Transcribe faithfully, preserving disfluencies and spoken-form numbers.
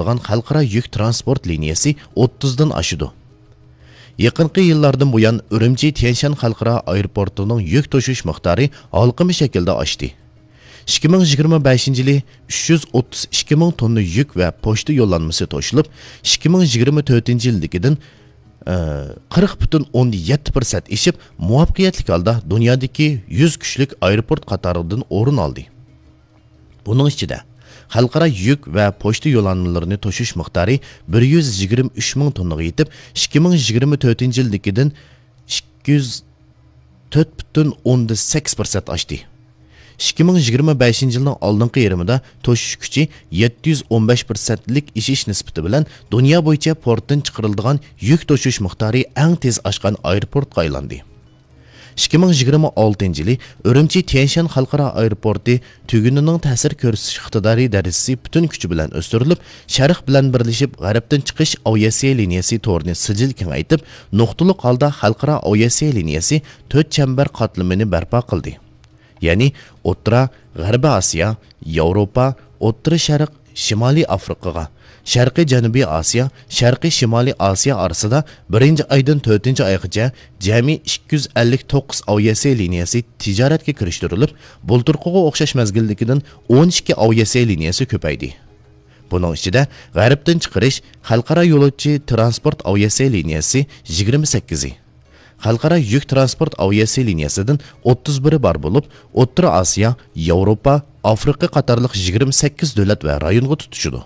قىلغان خەلقئارا يۈك تىرانسپورت لىنىيەسى ئوتتۇزدىن ئاشىدۇ. يېقىنقى يىللاردىن بۇيان، ئۈرۈمچى تيەنشان خەلقئارا ئايروپورتىنىڭ يۈك توشۇش مىقدارى ھالقىما شەكىلدە ئاشتى. ئىككى مىڭ يىگىرمە بەشىنچى يىلى ئۈچ يۈز ئوتتۇز ئىككى مىڭ توننا يۈك ۋە پوچتا يوللانمىسى توشۇلۇپ، ئىككى مىڭ يىگىرمە تۆتىنچى يىلدىكىدىن، ئى، قىرىق پۈتۈن ئوندىن يەتتە پىرسەنت ئېشىپ، مۇۋەپپەقىيەتلىك ھالدا دۇنيادىكى يۈز كۈچلۈك ئايروپورت قاتارىدىن ئورۇن ئالدى. بۇنىڭ ئىچىدە، خەلقئارا يۈك ۋە پوچتا يوللانمىلىرىنى توشۇش مىقدارى بىر يۈز يىگىرمە ئۈچ مىڭ توننىغا يېتىپ، ئىككى مىڭ يىگىرمە تۆتىنچى يىلدىكىدىن ئىككى يۈز تۆت پۈتۈن ئوندىن سەككىز پىرسەنت ئاشتى. ئىككى مىڭ يىگىرمە بەشىنچى يىلنىڭ ئالدىنقى يېرىمىدا توشۇش كۈچى يەتتە يۈز ئون بەش پىرسەنتلىك ئېشىش نىسبىتى بىلەن دۇنيا بويىچە پورتتىن چىقىرىلىدىغان يۈك توشۇش مىقدارى ئەڭ تېز ئاشقان ئايروپورتقا ئايلاندى. ئىككى مىڭ يىگىرمە ئالتىنچى يىلى ئۈرۈمچى تيەنشان خەلقئارا ئايروپورتى تۈگۈنىنىڭ تەسىر كۆرسىتىش ئىقتىدارى دەرىجىسى پۈتۈن كۈچى بىلەن ئۆستۈرۈلۈپ، شەرق بىلەن بىرلىشىپ غەربتىن چىقىش ئاۋىئاتسىيە لىنىيەسى تورىنى سىجىل كېڭەيتىپ، نۇقتىلىق ھالدا خەلقئارا ئاۋىئاتسىيە لىنىيەسى تۆت چەمبەر قاتلىمىنى بەرپا قىلدى. يەنى ئوتتۇرا، غەربىي ئاسىيا، ياۋروپا، ئوتتۇرا شەرق، شىمالىي ئافرىقىغا، شەرقىي جەنۇبىي ئاسىيا، شەرقىي شىمالىي ئاسىيا ئارىسىدا بىرىنچى ئايدىن تۆتىنچى ئايغىچە جەمئىي ئىككى يۈز ئەللىك توققۇز ئاۋىئاتسىيە لىنىيەسى تىجارەتكە كىرىشتۈرۈلۈپ، بۇلتۇرقىغا ئوخشاش مەزگىلدىكىدىن ئون ئىككى ئاۋىئاتسىيە لىنىيەسى كۆپەيدى. بۇنىڭ ئىچىدە غەربتىن چىقىرىش خەلقئارا يولۇچى تىرانسپورت ئاۋىئاتسىيە لىنىيەسى يىگىرمە سەككىزى، خەلقئارا يۈك تىرانسپورت ئاۋىئاتسىيە لىنىيەسىدىن ئوتتۇز بىرى بار بولۇپ، ئوتتۇرا ئاسىيا، ياۋروپا، ئافرىقا قاتارلىق يىگىرمە سەككىز دۆلەت ۋە رايونغا تۇتىشىدۇ.